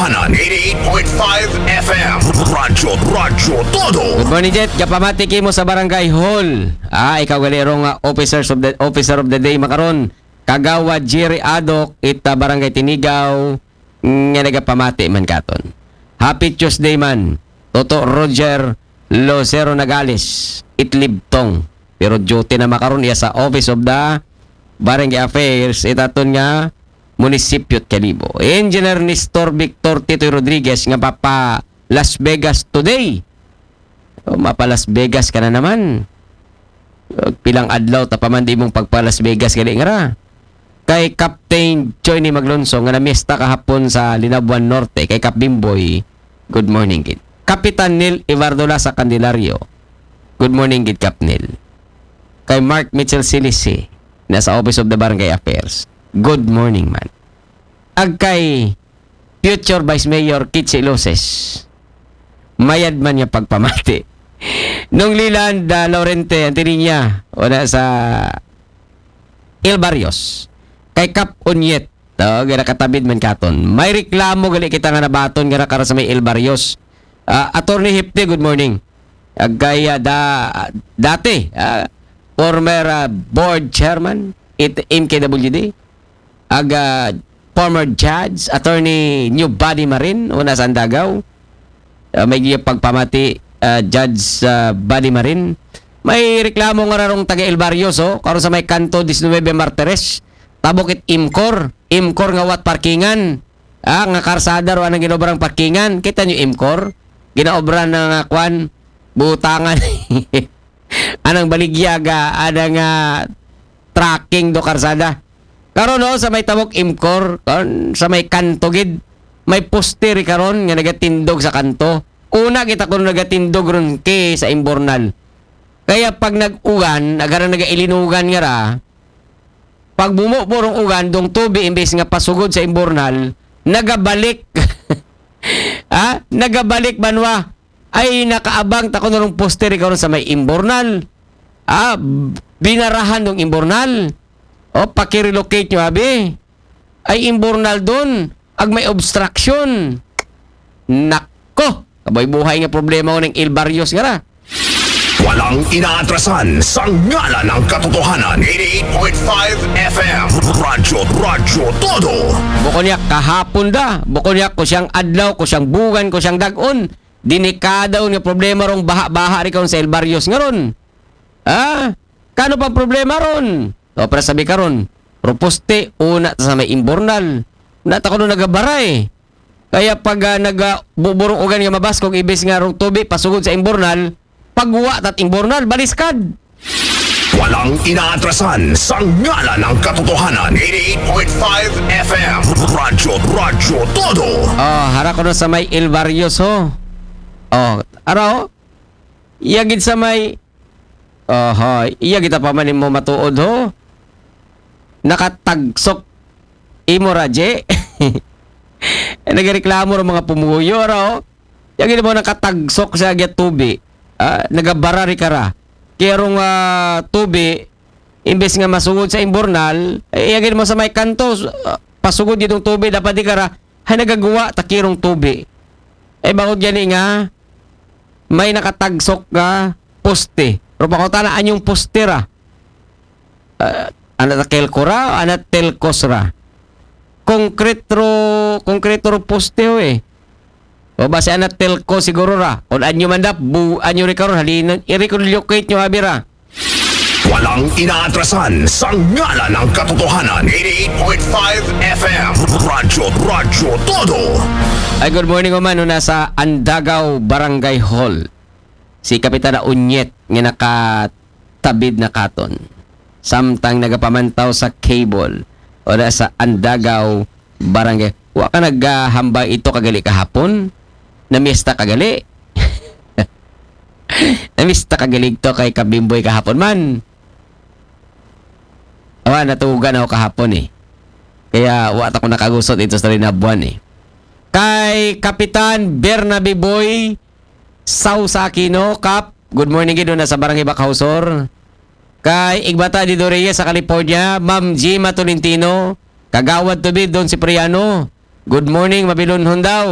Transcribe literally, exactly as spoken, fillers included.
Katotohanan eighty-eight point five F M. Radyo, Radyo Todo. Good morning, Jet. Gapamati kimo sa barangay hall. Ah, ikaw gali rong ah, officers of the officer of the day makaron. Kagawad Jerry Adok ita barangay Tinigaw nga nagapamati man katon. Happy Tuesday man. Toto Roger Lucero Nagales Itlibtong. Pero duty na makaron iya sa Office of the Barangay Affairs itaton nga munisipyo Kalibo. Engineer Nestor Victor Titoy Rodriguez nga papa Las Vegas today. O, mapa Las Vegas ka na naman. O, pilang adlaw ta pa man di mong pagpa Las Vegas gali nga ra. Kay Captain Johnny Maglonso nga namiesta kahapon sa Linabuan Norte, kay Kap Bimboy, good morning gid. Kapitan Neil Ibardola sa Candelario, good morning gid Kap Neil. Kay Mark Mitchell Silisi, nasa Office of the Barangay Affairs, good morning man. Ag kay future Vice Mayor Kitsi Loses, mayad man niya pagpamati. Nung Liland uh, Laurente Antininya, una sa El Barrios. Kay Kap Unyet, oh, nga nakatabid man katon. May reklamo gali kita nga nabaton nga nakara sa may El Barrios. Ah, Attorney Hipte, good morning. Ag kay ah, da, dati, ah, former ah, board chairman it M K W D. Ag ah, former judge, Attorney New Body Marin, una sa Andagaw. Ah, may giya pagpamati, ah, Judge ah, Body Marin. May reklamo nga rarong taga El Barrios, oh, karon sa may kanto diecinuebe Martires. Tabok it Imcor. Imcor nga wat parkingan. Ah, nga karsada ro anang ginobrang parkingan. Kita nyo Imcor? Ginaobra na nga kwan, butangan. Anang baligyag, ah, anang ah, tracking do karsada. Karon no, sa may tabok Imcor, karon sa may kanto gid, may poste ri karon nga nagatindog sa kanto. Una kita kuno nagatindog ron kay sa Imbornal. Kaya pag nag-ugan, agara nagailinugan nga ra, pag bumubo rong ugan, dong tubi imbes nga pasugod sa Imbornal, nagabalik. Ha? Nagabalik banwa. Ay nakaabang ta kuno rong poste ri karon sa may Imbornal. Ah, binarahan dong Imbornal. O, pakirelocate nyo abi. Ay Imbornal don, ag may obstruction. Nako, kaboy buhay nga problema ko ng El Barrios nga ra. Walang inaatrasan sa ngalan ng katotohanan. Eighty-eight point five F M. Radyo, Radyo Todo. Bukon niya kahapon da, bukon niya ko siyang adlaw, ko siyang bugan, ko siyang dagon. Delikado nga problema rong baha-baha ri karon sa El Barrios nga ron. Ha? Kano pa problema ron? O, para sabi karon, proposte, una ta sa may Imbornal. Na ta kuno nagabara eh. Kaya pag ah, nag ah, buburong ugan nga mabaskog, ibis nga rong tubi, pasugod sa Imbornal, pagwa tat Imbornal, baliskad. Walang inaatrasan sa ngalan ng katotohanan. Eighty-eight point five F M. Radyo, Radyo Todo. Oh, hara ko na sa may El Barrios ho. Oh, ara ho. Iya gid sa may Oho, iya kita pa man mo matuod ho. Nakatagsok imo raje. Nagreklamo ra mga pumuyo ra ho. Iya gid mo nakatagsok sa agya tubi. Ah, nagabara ri kara. Kaya rong ah, tubi, imbes nga masugod sa Imbornal, eh, iya gid mo sa may kanto, ah, pasugod gitong tubi, dapat di kara, hay nagagawa, takirong tubi. Eh, bakit gani nga, may nakatagsok nga poste. Pero pakutana, anyong poste ra? Ah, ana ta kelko ra, ana telkos ra? Konkretro, konkretro poste ho eh. O base ana telko siguro ra. Kung anyo man dap, bu, anyo ri karon, halina, i-relocate nyo abi ra. Walang inaatrasan sa ngalan ng katotohanan. Eighty-eight point five F M. Radyo, Radyo Todo. Ay, good morning, Oman. Una sa Andagaw Barangay Hall. Si Kapitana Unyet nga nakatabid na katon. Samtang nagapamantaw sa cable. O na sa Andagaw Barangay. Wa ka naghambay ito kagali kahapon? Namista kagali? Namista kagali to kay Kabimboy kahapon man. Awa, natugan ako kahapon eh. Kaya wa ta ko nakagusot ito sa linabuan eh. Kay Kapitan Bernabe Boy Sausa Aquino, Kap, good morning gid na sa Barangay Bacausor. Kay Igbata Dido Reyes sa California, Ma'am Gima Tolentino, Kagawad Tubid Don Cipriano, good morning, mabilonhon daw.